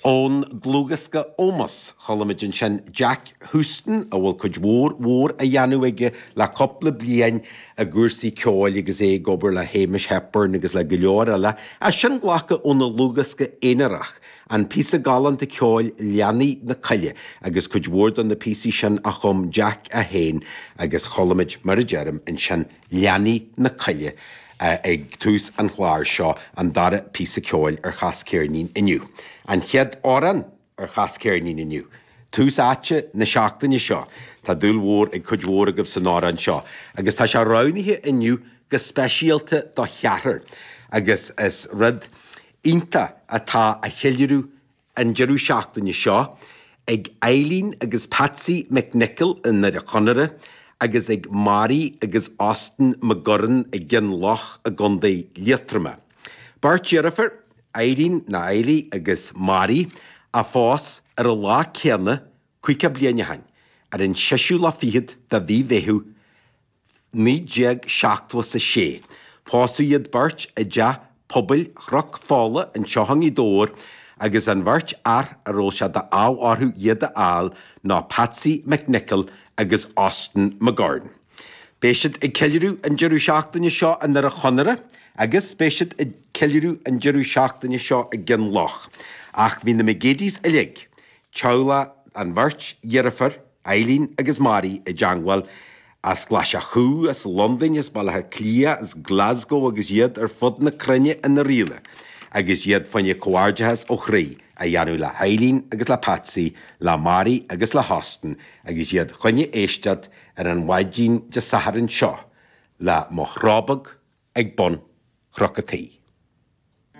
Ón dlúthdhiosca Ómós, chuala muid ansin Jack Houston, a bhfuil cuid mhór mhór á dhéanamh aige le cúpla bliain i gcúrsaí ceoil agus é ag obair le Hamish Hepburn agus le go leor eile, é sin glactha óna dhlúthdhiosca aonarach, an píosa galánta ceoil Leanaí na Coille agus cuid mhór de na píosaí sin a chum Jack é féin agus chuala muid, mar a deirim, ansin Leanaí na Coille ag tús an chláir seo, an dara píosa ceoil ar Chas Ceirnín inniu. An chéad amhrán ar Chas Ceirnín inniu. Tús áite na seachtaine seo. Tá dúil mhór ag cuid mhór agaibh san amhrán seo agus tá sé roghnaithe inniu go speisialta do cheathrar agus is rud iontach atá á cheiliúradh an deireadh seachtaine seo ag Eileen agus Patsy McNicholl i nDoire Chonaire agus ag Mary agus Austin McGurran i gCionn Loch i gContae Liatroma. Beirt deirfiúr, Eileen nó Eilí agus Mary, a phós ar an lá céanna 50 bliain ó shin, ar an seisiú lá fichead de mhí Mheitheamh 1976. Pósadh iad beirt i dteach pobail Chnoc Fola anseo i nGaoth Dobhair agus an bheirt fhear a raibh sé d'ádh orthu iad a fháil ná Patsy McNicholl agus Austin McGurn. Beidh siad ag ceiliúradh an deireadh seachtaine seo i nDoire Chonaire agus beidh siad ag ceiliúradh an deireadh seachtaine seo i gCionn Loch. Ach bhí na McGeadys uilig, teaghlach an bheirt dheirfiúr, Eileen agus Mary, i dteangmháil as Glaschú, as Londain, as Baile Átha Cliath, as Glasgow agus iad ar fud na cruinne ina Oirialla agus iad fá choinne comhghairdeachas ó chroí a dhéanamh le hEileen agus le Patsy, le Mary agus le hAustin agus iad choinne éisteacht ar an mhaidin Dé Sathairn seo le Mo Chró Beag ag Bun Chnoc a' Tí.